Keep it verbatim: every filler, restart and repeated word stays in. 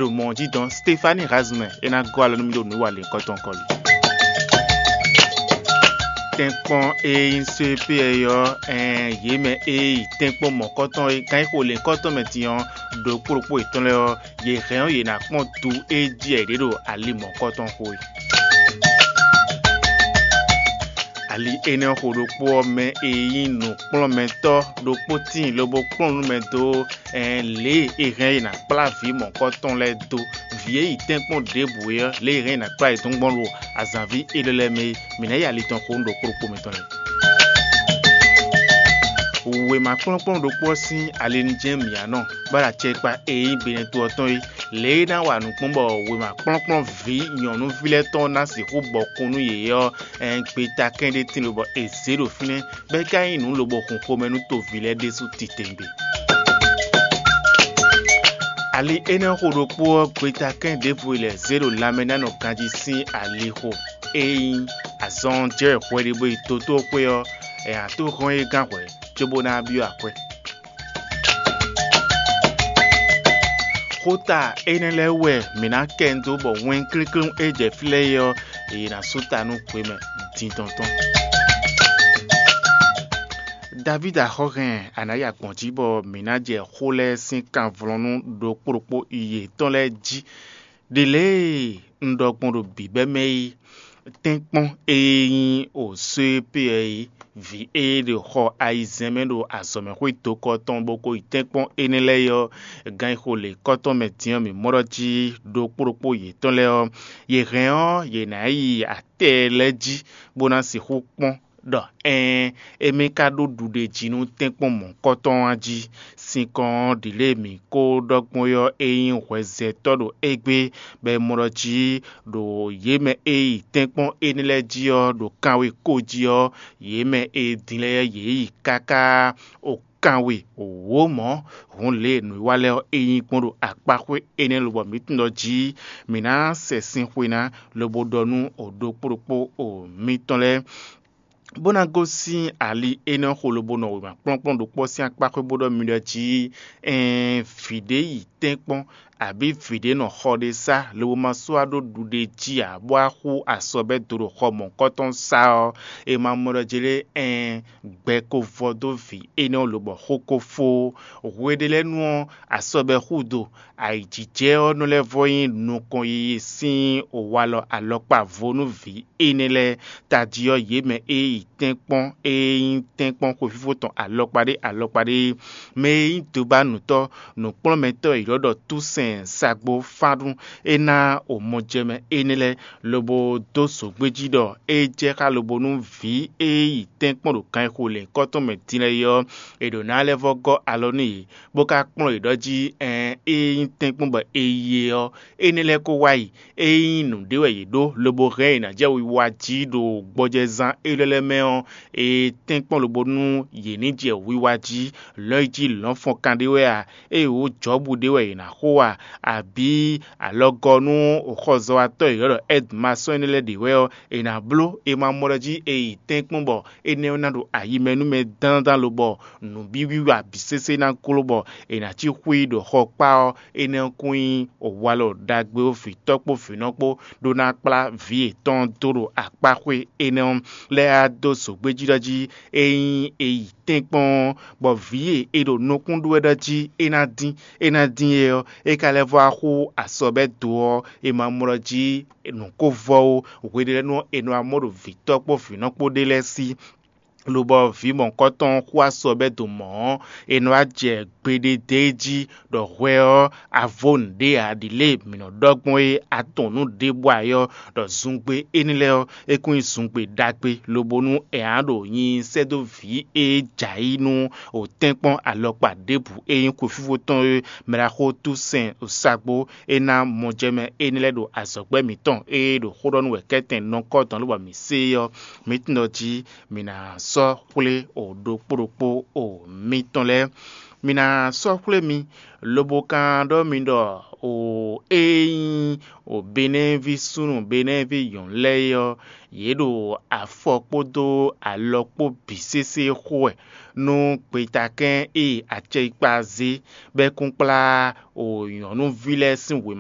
ɖo mɔ̌ jí dɔn Stefani Razumɛ é ná gɔ́ alɔ nú mì ɖo nǔ e wa lěhunkɔtɔn kɔli. Tɛ́nkpɔ́n e nyí C P ɔ́, ɛn yě mɛ e yi tɛ́nkpɔ́n mɔ̌kɔtɔn e gán yi xo lěhunkɔtɔn mɛ din ɔ́, ɖokpó ɖokpó yětɔn lɛ́ɛ ɔ́, yě hɛn ɔ́ yě ná kpɔ́n du e jí wɛ yě ɖe ɖo ali mɔ̌kɔtɔn xo é. Ali énɛ́ xo ɖokpó ɔ́ mɛ e nyí nǔkplɔ́nmɛtɔ́ ɖokpó tíin lobo kplɔ́n nú mɛ dó lě e è hɛn e è nǎ kplá vǐ mɔ̌kɔtɔn lɛ́ɛ dó. Vǐ e yi tɛ́nkpɔ́n ɖěbǔ é ɔ́, lě e è hɛn e è nǎ kplá yě dó gbɔn ɖo azǎnví élɔ́ lɛ́ɛ mɛ é, mǐ ná yi ali tɔn xo nú ɖokpó ɖokpó mǐtɔn lɛ́ɛ. Wěma kplɔ́nkplɔ́n ɖokpó ɔ́ sín ali nu jɛ́n mǐ ná nɔ, bó ɖo acɛkpa e nyí Benɛto ɔ́ tɔn é. Lě e é ná wa nǔ kpɔ́n bɔ wěma kplɔ́nkplɔ́n vǐ nyɔ̌nuví lɛ́ɛ tɔn ná sixú bɔ kún nú yě ɔ́, ɛn gbeta kɛ́n ɖé tín lobɔ è zě ɖo fínɛ́, bɔ é ka nyí nǔ lobo hun xomɛ nú toví lɛ́ɛ ɖésú titewungbe. Ali énɛ́ xo ɖokpó ɔ́, gbeta kɛ́n ɖěvo e lɛ̌ zé ɖo lanmɛ ná nɔ ganjí sín ali xo. Ényí azɔn jɛ hwɛɖibo yi dotóxwé ɔ́, è nǎ tó hɔn é gán hwɛ̌, cóbó ná byɔ́ akwɛ́. Xota énɛ́ lɛ́ɛ wɛ mǐ ná kɛ dó bɔ wɛn klíklí e jɛ fí lɛ́ɛ é ɔ́, è nǎ sú ta nú hwemɛ dindɔn tɔn. Davídi axɔ́ hɛn a nǎ yi agbɔ̌n jí bɔ mǐ ná jɛ xó lɛ́ɛ sín kanvlɔ́nú ɖokpó ɖokpó yětɔn lɛ́ɛ jí. Ɖě lě e un ɖɔ gbɔn ɖo bǐbɛ́ mɛ é, tɛ́nkpɔ́n e nyí osó e pé ɔ́ é, vǐ e ɖo xɔ ayizɛ́n mɛ ɖo azɔ̌mɛxwé dokɔ tɔn bó ko yi tɛ́nkpɔ́n énɛ́ lɛ́ɛ é ɔ́, gan e xo lě kɔ́tɔn mɛ din ɔ́, mǐ mɔ ɖɔ jí ɖokpó ɖokpó yětɔn lɛ́ɛ ɔ́, yě hɛn ɔ́, yě ná yi atɛ lɛ́ɛ jí, bó ná sixú kpɔ́n ɖɔ ɛɛn, émí ka ɖó ɖuɖéjí nú tɛ́nkpɔ́n mɔ̌hunkɔtɔn ɔ́ jí. Sinkɔn ɔ́, ɖǐ lě e mǐ ko ɖɔ gbɔn é ɔ́, é nyí hwɛzɛtɔ́ ɖo égbé, bɔ è mɔ ɖɔ jí ɖo yě mɛ e yi tɛ́nkpɔ́n énɛ́ lɛ́ɛ jí ɔ́, ɖo kanwe ko jí ɔ́, yě mɛ e din lɛ́ɛ yě yi káká o kanwe wǒ mɔ̌. Hǔn lě e nǔwiwa lɛ́ɛ ɔ́, é nyí gbɔn ɖo akpáxwé énɛ́ lobɔ mǐ tunwun ɖɔ jí mǐ ná sɛ sin xwe ná, lobo ɖɔ nú o ɖokpó ɖokpó o mitɔn lɛ́ɛ, bó ná gosín ali énɛ́ xo lobo nɔ wěma kplɔ́nkplɔ́n ɖokpó sín akpá xwé bó ɖɔ mi ɖɔ jí, ɛɛn vǐ ɖé yi tɛ́nkpɔ́n, abǐ vǐ ɖé nɔ xɔ ɖé sá, lobo ma sɔ́ wá ɖó ɖuɖéjí ǎ, bó wá xú asɔbɛ́ do ɖo xɔ mɔ̌hunkɔtɔn sá ɔ́, è ma mɔ ɖɔ jí lé, ɛɛn gbɛ ko vɔ dó vǐ énɛ́ ɔ́ lobɔ xó ko fó. Hwe ɖé lɛ́ɛ nu ɔ́, asɔbɛ́ xú do. Ayǐjijɛ ɔ́ nɔ lɛ́ vɔ nyí nukɔn yiyi sín walɔ alɔkpa vo nú vǐ énɛ́ lɛ́ɛ. Tají ɔ́, yě mɛ e yi tɛ́nkpɔ́n e nyí tɛ́nkpɔ́n xwefífó tɔn alɔkpa ɖé alɔkpa ɖé, mɛ e nyí dobánutɔ́, nǔkplɔ́nmɛtɔ́ e ylɔ́ ɖɔ Túsɛn Sagbó Fánɖún, é ná omɔjɛmɛ énɛ́ lɛ́ɛ, lobo dó zǒgbéjí ɖɔ é jɛ xá lobo nú vǐ e yi tɛ́nkpɔ́n ɖo kan e xo lɛ̌nkɔ́ tɔn mɛ din lɛ́ɛ é ɔ́, è ɖǒ ná lɛ́ vɔ́ gɔ́ alɔ nú yě, bó ka kplɔ́n yě ɖɔ jí, ɛɛn é nyí tɛ́nkpɔ́n bɔ è yi e ɔ́, énɛ́ lɛ́ɛ ko wá yi. É nyí nǔɖé wɛ yě ɖó, lobo hɛn yě ná jɛ wiwa jí ɖo gbɔjɛzán élɔ́ lɛ́ɛ mɛ ɔ́, è tɛ́nkpɔ́n lobo nú yě ní jɛ wiwa jí. Lɔ̌nyijǐ lɔ̌nfɔnkan ɖé wɛ a? Ée wǒ Jɔ̌bu ɖé wɛ yě ná xo a? Abǐ alɔgɔ́nú xɔzɔ́watɔ́ e è ylɔ́ ɖɔ Ɛdmasɔ́n énɛ́ lɛ́ɛ ɖě wɛ ɔ́, è nǎ bló è ma mɔ ɖɔ jí è yi tɛ́nkpɔ́n bɔ énɛ́ ɔ́ ná ɖo ayi mɛ nú mɛ dándan lobɔ nǔ bǐ wiwa bǐ sésé ná gló bɔ è nǎ cí xwí ɖo xɔ kpá ɔ́, énɛ́ ɔ́ kún nyí walɔ ɖagbe ó vǐtɔ́ kpó vǐnɔ kpó ɖó ná kplá vǐ yětɔn dó ɖo akpáxwé énɛ́ ɔ́ lɛ́ɛ á dó zǒgbéjí ɖɔ jí é nyí è yi tɛ́nkpɔ́n ɔ́, bɔ vǐ e è ɖo nukún ɖó wɛ ɖɔ jí é ná dín é ná dín é ɔ́, é ka lɛ́ vɔ́ wá xú asɔbɛ́ do ɔ́, è ma mɔ ɖɔ jí nǔ ko vɔ ó. Hweɖélɛ́nu ɔ́, è nɔ wá mɔ ɖo vǐtɔ́ kpó vǐnɔ kpó ɖé lɛ́ɛ sí. Lobɔ vǐ mɔ̌hunkɔtɔn xú asɔbɛ́ do mɔ̌ ɔ́, è nɔ wá jɛ gbeɖé d'é jí ɖɔ hwɛ ɔ́, a vo nǔɖé ǎ. Ɖi lě e mǐ nɔ ɖɔ gbɔn é, a tunwun nǔ ɖěbǔ ǎ é ɔ́, ɖɔ zungbe énɛ́ lɛ́ɛ ɔ́, é kún nyí zungbe ɖagbe, lobo nú è nǎ ɖo nyi sɛ́ dó vǐ e jɛ ayǐ nú o tɛ́nkpɔ́n alɔkpa ɖěbǔ e nyí xwefífó tɔn é, mɛ ɖaxó Túsɛn Osagbó, é ná mɔjɛmɛ énɛ́ lɛ́ɛ ɖo azɔ̌gbɛ́ mǐtɔn e ɖo xó ɖɔ nú wɛ kɛ́tɛn nɔkɔ́ dɔn lobɔ mǐ se é ɔ́, mǐ tunwun ɖɔ jí mǐ ná sɔ́ xwlé o ɖokpó ɖokpó o mitɔn lɛ́ɛ. Mǐ ná sɔ́ xwlé mi, lobo ka ɖɔ mi ɖɔ o e nyí o Benɛ́ɛví súnnu Benɛ́ɛví nyɔ̌nu lɛ́ɛ é ɔ́, yě ɖo afɔ kpódó alɔ kpó bǐ sésé xo wɛ nú gbetakɛ́n e acɛkpa zé bɔ é kún kplá o nyɔ̌nuví lɛ́ɛ sín wěma